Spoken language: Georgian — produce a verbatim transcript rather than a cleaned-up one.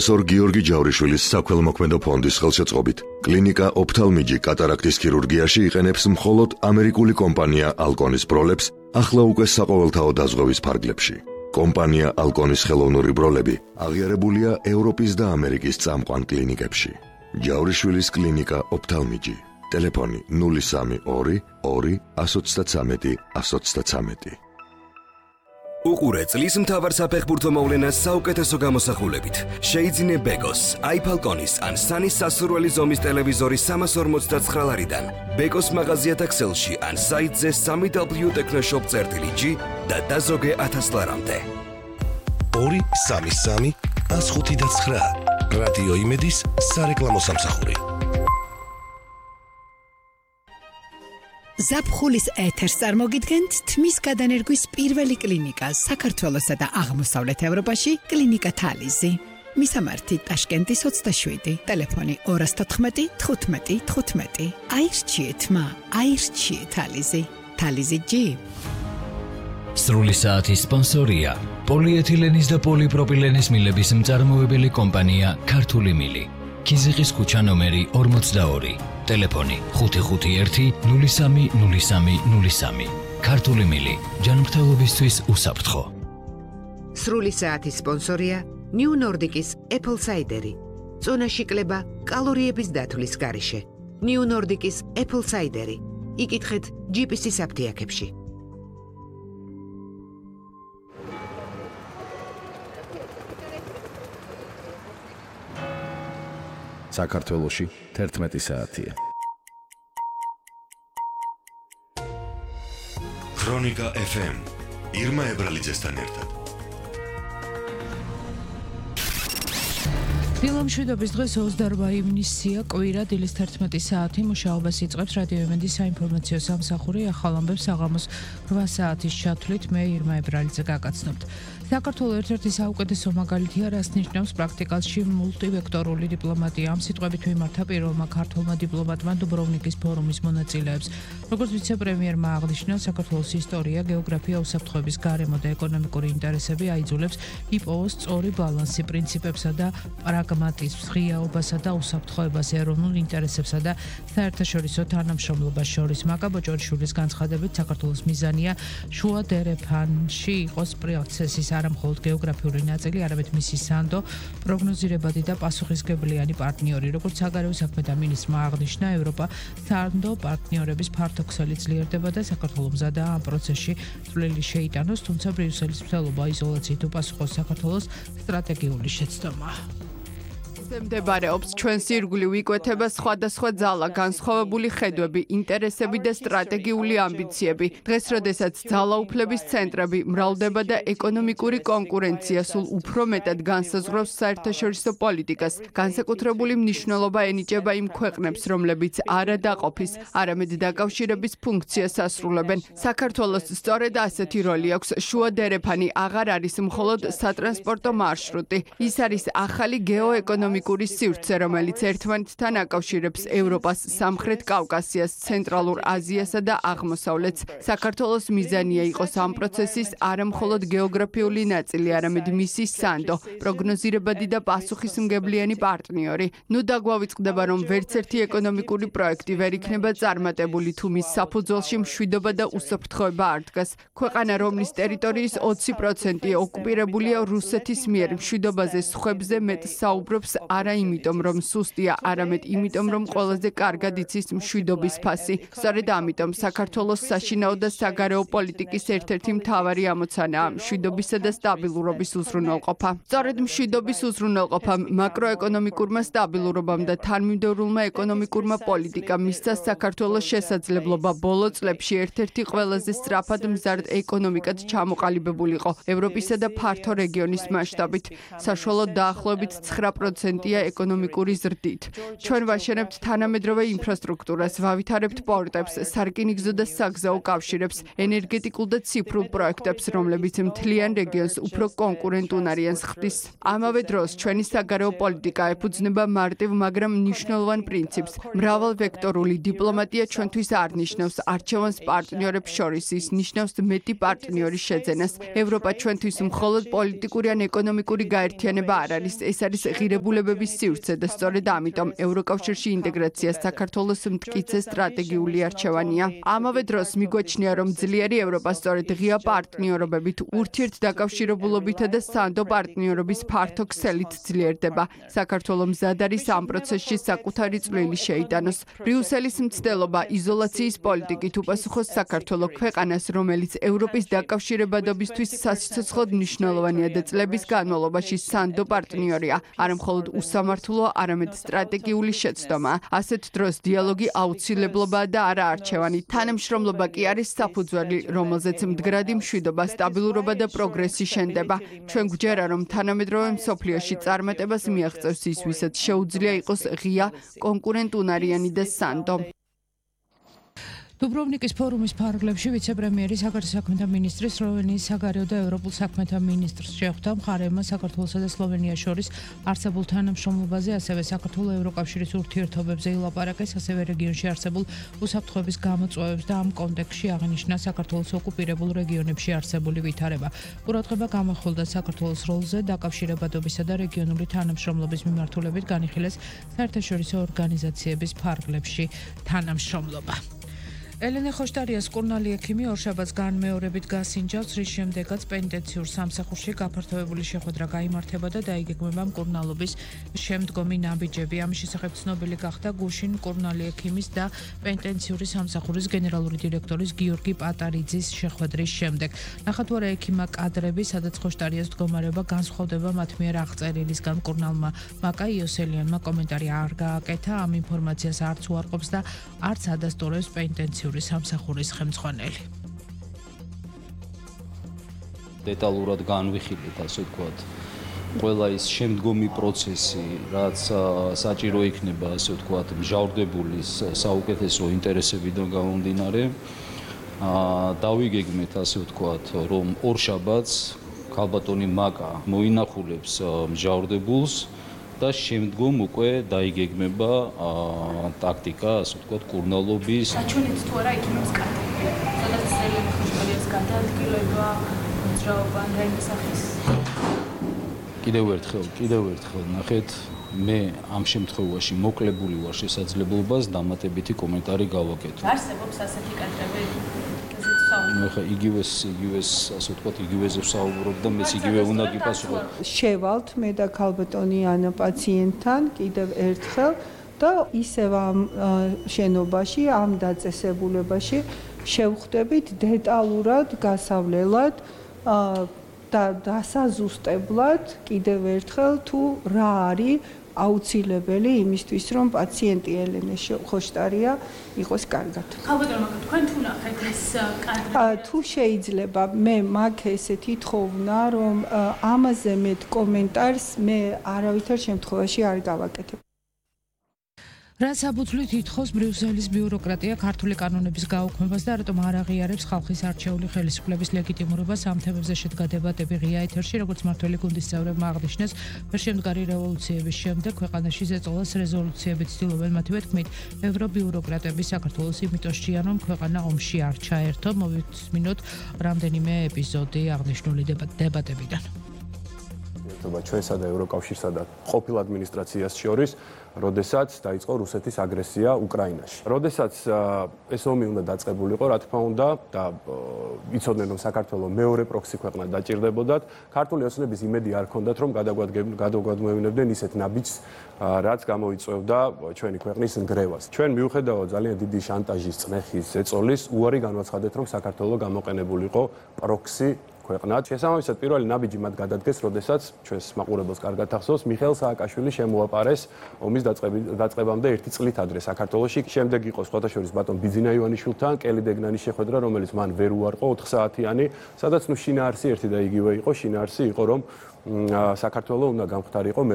პროფესორ გიორგი ჯავრიშვილის საქველმოქმედო ფონდის ხელშეწყობით კლინიკა ოფთალმიჯი კატარაქტის ქირურგიაში იყენებს მხოლოდ ამერიკული კომპანია ალკონის ბროლებს ახლა უკვე საყოველთაო დაზღვევის ფარგლებში. კომპანია ალკონის ხელოვნური ბროლები აღიარებულია ევროპის და ამერიკის წამყვან კლინიკებში. ჯავრიშვილის კლინიკა ოფთალმიჯი. ტელეფონი ნული სამი ორი ორი εκατო ოცდათვრამეტი εκατო ოცდათვრამეტი. უყურე წლის მთავარ საფეხბურთო მოვლენას საუკეთესო გამოსახულებით. შეიძინე ბეკოს, აიფალკონის ან სანის სასურველი ზომის ტელევიზორი სამას ორმოცდაცხრა ლარიდან. ბეკოს მაღაზიათა ქსელში ან საიტზე სამი დაბლიუ ტექნოშოპ წერტილი ჯი და დაზოგე ათას ლარამდე. ორი სამი სამი ას ხუთი და ცხრა. რადიო იმედის სარეკლამო სამსახური. ზაფხულის ეთერს წარმოგიდგენთ თმის გადანერგვის პირველი კლინიკა საქართველოსა და აღმოსავლეთ ევროპაში კლინიკა თალიზი. მისამართი ტაშკენტის ოცდაშვიდი, ტელეფონი ორი თოთხმეტი თხუთმეტი თხუთმეტი. აირჩიეთ მა, აირჩიეთ თალიზი. თალიზი ჯი. სრული საათის სპონსორია პოლიეთილენის და პოლიპროპილენის მილების მწარმოებელი კომპანია ქართული მილი. ქიზიყის ქუჩა ნომერი ორმოცდაორი. ტელეფონი ხუთი ხუთი ერთი ნული სამი ნული სამი ნული სამი. ქართული მილი ჯანმრთელობისთვის უსაფრთხო. სრული საათის სპონსორია ნიუ ნორდიკის Apple Cider-ი. წონაში კლება კალორიების დათვლის გარეშე. ნიუ ნორდიკის Apple Cider-ი. იკითხეთ ჯი პი სი-ის აფთიაქებში. საქართველოში თერთმეტი საათია. ქრონიკა ეფ ემ ირმა ებრალიძესთან ერთად. დილამშვიდობის დღეს ოცდაორმა ივნისია, კვირა, დილის თერთმეტი საათი. მუშაობას იწყებს რადიო იმედის საინფორმაციო სამსახური. ახალ ამბებს საღამოს რვა საათის ჩათვლით მე ირმა ებრალიძე გაგაცნობთ. საქართველოს ერთ-ერთი საუკეთესო მაგალითია, რას ნიშნავს პრაქტიკაში მულტივექტორული დიპლომატია. ამ სიტყვებით მიმართა პირველმა ქართველმა დიპლომატმა დუბროვნიკის ფორუმის მონაწილეებს. როგორც ვიცე-პრემიერმა აღნიშნა, საქართველოს ისტორია, გეოგრაფია, უსაფრთხოების გარემო და ეკონომიკური ინტერესები აიძულებს იპოვოს სწორი ბალანსი პრინციპებსა და პრაგმატიზმს, ღიაობასა და უსაფრთხოებას, ეროვნულ ინტერესებსა და საერთაშორისო თანამშრომლობას შორის. მაგა ბოჭორიშვილის განცხადებით, საქართველოს მიზანია შუა დერეფანში იყოს პროცესის არა მხოლოდ გეოგრაფიული ნაწილი, არამედ მისი სანდო, პროგნოზირებადი და პასუხისმგებლიანი პარტნიორი. როგორც საგარეო საქმეთა მინისტრმა აღნიშნა, ევროპა სანდო პარტნიორების ფართოქსელი ძლიერდება და საქართველოს მზადაა ამ პროცესში წვლილი შეიტანოს, თუმცა ბრიუსელის მცდელობა იზოლაციით უპასუხოს საქართველოს სტრატეგიული შეცდომა. მდებარეობს ჩვენს ირგვლივ იკვეთება სხვადასხვა ძალა, განსხვავებული ხედვები, ინტერესები და სტრატეგიული ამბიციები. დღეს, როდესაც ძალაუფლების ცენტრები მრავლდება და ეკონომიკური კონკურენცია სულ უფრო მეტად განსაზღვრავს საერთაშორისო პოლიტიკას, განსაკუთრებული მნიშვნელობა ენიჭება იმ ქვეყნებს, რომლებიც არა დაყოფის, არამედ დაკავშირების ფუნქციას ასრულებენ. საქართველოს სწორედ ასეთი როლი აქვს. შუა დერეფანი აღარ არის მხოლოდ სატრანსპორტო მარშრუტი. ის არის ახალი გეოეკონომიკური სივრცე, რომელიც ერთმანეთთან აკავშირებს ევროპას, სამხრეთ კავკასიას, ცენტრალურ აზიასა და აღმოსავლეთს. საქართველოს მიზანია იყოს ამ პროცესის არა მხოლოდ გეოგრაფიული ნაწილი, არამედ მისი სანდო, პროგნოზირებადი და პასუხისმგებლიანი პარტნიორი. ნუ დაგვავიწყდება, რომ ვერც ერთი ეკონომიკური პროექტი ვერ იქნება წარმატებული, თუ მის საფუძველში მშვიდობა და უსაფრთხოება არ დგას. ქვეყანა, რომლის ტერიტორიის ოცი პროცენტი ოკუპირებულია რუსეთის მიერ, მშვიდობაზე სხვებზე მეტ საუბრობს არა იმიტომ, რომ სუსტია, არამედ იმიტომ, რომ ყველაზე კარგად იცის მშვიდობის ფასი. სწორედ ამიტომ საქართველოს საშინაო და საგარეო პოლიტიკის ერთ-ერთი მთავარი ამოცანაა მშვიდობისა და სტაბილურობის უზრუნველყოფა. სწორედ მშვიდობის უზრუნველყოფამ, მაკროეკონომიკურმა სტაბილურობამ და თანმიმდევრულმა ეკონომიკურმა პოლიტიკამ მისცა საქართველოს შესაძლებლობა ბოლო წლებში ერთ-ერთი ყველაზე სწრაფად მზარდ ეკონომიკად ჩამოყალიბებულიყო ევროპისა და ფართო რეგიონის მასშტაბით. საშუალოდ დაახლოებით ცხრა პროცენტი გარანტია ეკონომიკური ზრდით. ჩვენ ვაშენებთ თანამედროვე ინფრასტრუქტურას, ვავითარებთ პორტებს, სარკინიგზო და საგზაო კავშირებს, ენერგეტიკულ და ციფრულ პროექტებს, რომლებიც მთლიან რეგიონს უფრო კონკურენტუნარიანს ხდის. ამავე დროს ჩვენი საგარეო პოლიტიკა ეფუძნება მარტივ, მაგრამ მნიშვნელოვან პრინციპს. მრავალვექტორული დიპლომატია ჩვენთვის არ ნიშნავს არჩევანს პარტნიორებს შორის, ის ნიშნავს მეტი პარტნიორის შეძენას. ევროპა ჩვენთვის მხოლოდ პოლიტიკური ან ეკონომიკური გაერთიანება არ არის, ეს არის ღირებულებების სივრცე და სწორედ ამიტომ ევროკავშირში ინტეგრაცია საქართველოს მტკიცე სტრატეგიული არჩევანია. ამავე დროს მიგვაჩნია, რომ ძლიერი ევროპა სწორედ ღია პარტნიორობებით, ურთიერთდაკავშირებულობითა და სანდო პარტნიორობის ფართო ქსელით ძლიერდება. საქართველო მზად არის ამ პროცესში საკუთარი წვლილი შეიტანოს. ბრიუსელის მცდელობა იზოლაციის პოლიტიკით უპასუხოს საქართველო ქვეყანას, რომელიც ევროპის დაკავშირებადობისთვის სასიცოცხლოდ მნიშვნელოვანია და წლების განმავლობაში სანდო პარტნიორია, არა მხოლოდ უსამართლო, არამედ სტრატეგიული შეცდომა. ასეთ დროს დიალოგი აუცილებლობაა და არა არჩევანი. თანამშრომლობა კი არის საფუძველი, რომელზეც მდგრადი მშვიდობა, სტაბილურობა და პროგრესი შენდება. ჩვენ გვჯერა, რომ თანამედროვე მსოფლიოში წარმატებას მიაღწევს ის, ვისაც შეუძლია იყოს ღია, კონკურენტუნარიანი და სანდო. დუბროვნიკის ფორუმის ფარგლებში ვიცე-პრემიერი საგარეო საქმეთა მინისტრი სლოვენიის საგარეო და ევროპულ საქმეთა მინისტრს შეხვდა მხარეებმა საქართველოსა და სლოვენიას შორის არსებულ თანამშრომლობაზე, ასევე საქართველოს ევროკავშირის ურთიერთობებზე ილაპარაკეს, ასევე რეგიონში არსებულ უსაფრთხოების გამოწვევებს და ამ კონტექსტში აღნიშნა საქართველოს ოკუპირებულ რეგიონებში არსებული ვითარება. ყურადღება გამახვილდა საქართველოს როლზე დაკავშირებადობისა და რეგიონული თანამშრომლობის მიმართულებით განიხილეს საერთაშორისო ორგანიზაციების ფარგლებში თანამშრომლობა. ელენე ხოშტარიას კურნალი ექიმი ორშაბათს განმეორებით გასინჯავს, რის შემდეგაც პენიტენციურ სამსახურში გაფართოებული შეხვედრა გაიმართება და დაიგეგმება მკურნალობის შემდგომი ნაბიჯები. ამის შესახებ ცნობილი გახდა გუშინ კურნალი ექიმის და პენიტენციური სამსახურის გენერალური დირექტორის გიორგი პატარიძის შეხვედრის შემდეგ. ნახოთ რა ექიმა კადრები, სადაც ხოშტარიას მდგომარეობა განსხვავდება მათ მიერ აღწერილისგან. კურნალმა მაკა იოსელიანმა კომენტარი არ გააკეთა, ამ ინფორმაციას არც უარყოფს და არც ადასტურებს პენიტენციური სამსახურის ხელმძღვანელი. დეტალურად განვიხილეთ, ასე ვთქვათ, ყველა ის შემდგომი პროცესი, რაც საჭირო იქნება, ასე ვთქვათ, მჟავრდებულის საუკეთესო ინტერესებიდან გამომდინარე. დავიგეგმეთ, ასე ვთქვათ, რომ ორშაბათს ქალბატონი მაკა მოინახულებს მჟავრდებულს და შემდგომ უკვე დაიგეგმება ტაქტიკა, ასე ვთქვათ, კურნალობის. აჩვენებს თუ არა ექიმებს კადრები, სადაც ელენე ხოშტარიას გადაადგილება, მოძრაობა და იმ სახის. კიდევ ერთხელ, კიდევ ერთხელ ნახეთ, მე ამ შემთხვევაში მოკლებული ვარ შესაძლებლობას დამატებითი კომენტარი გავაკეთო. არსებობს ასეთი კადრები? ნუ ხა იგივეს იგივეს ასე ვთქვათ, იგივეზე ვსაუბრობ და მეც იგივე უნდა გიპასუხო. შევალთ მე და ქალბატონი ანა პაციენტთან კიდევ ერთხელ და ისევ ამ შენობაში, ამ დაწესებულებაში შევხვდებით დეტალურად, გასავლელად და დასაზუსტებლად კიდევ ერთხელ თუ რა არის აუცილებელი იმისთვის, რომ პაციენტი ელენე ხოშტარია იყოს კარგად. ქალბატონო, თქვენ თუ ნახეთ ეს კადრები? თუ შეიძლება, მე მაგ ესეთი თხოვნა, რომ ამაზე მეტ კომენტარს მე არავითარ შემთხვევაში არ გავაკეთებ. რა საფუძვლით ითხოვს ბრიუსელის ბიუროკრატია ქართული კანონების გაუქმებას და რატომ არ აღიარებს ხალხის არჩეული ხელისუფლების ლეგიტიმურობას? ამ თემებზე შედგა დებატები ღია ეთერში, როგორც მართველი გუნდის წევრებმა აღნიშნეს, შემდგარი რევოლუციების შემდეგ ქვეყანაში ზეწოლას რეზოლუციები ცდილობენ, მათივე თქმით, ევრობიუროკრატები საქართველოს იმიტოს ჭიან, რომ ქვეყანა ომში არ ჩაერთო. მოვისმინოთ რამდენიმე ეპიზოდი აღნიშნული დებატებიდან. ჩვენსა და ევროკავშირსა და ყოფილ ადმინისტრაციას შორის, როდესაც დაიწყო რუსეთის აგრესია უკრაინაში. როდესაც ეს ომი უნდა დაწყებულიყო, რა თქმა უნდა, და იცოდნენ, რომ საქართველოს მეორე პროქსი ქვეყნა დაჭირდებოდათ, ქართული ოცნების იმედი არ ჰქონდათ, რომ გადაგვადმევინებდნენ ისეთ ნაბიჯს, რაც გამოიწვევდა ჩვენი ქვეყნის ნგრევას. ჩვენ მიუხედავად ძალიან დიდი შანტაჟის, წნეხის, ზეწოლის, უარი განვაცხადეთ, რომ საქართველოს გამოყენებულიყო პროქსი ქვეყნად. შესაბამისად, პირველი ნაბიჯი მათ გადადგეს, როდესაც ჩვენს მაყურებელს კარგად ახსოვს, მიხეილ სააკაშვილი შემოაპარეს ომის დაწყებამდე ერთი წლით ადრე საქართველოში. შემდეგ იყო სხვათა შორის ბატონ ბიძინა ივანიშვილთან კელი დეგნანის შეხვედრა, რომელიც მან ვერ უარყო ოთხ საათიანი, სადაც ნუ შინაარსი ერთი და იგივე იყო, შინაარსი იყო, რომ საქართველოს უნდა გამختارიყო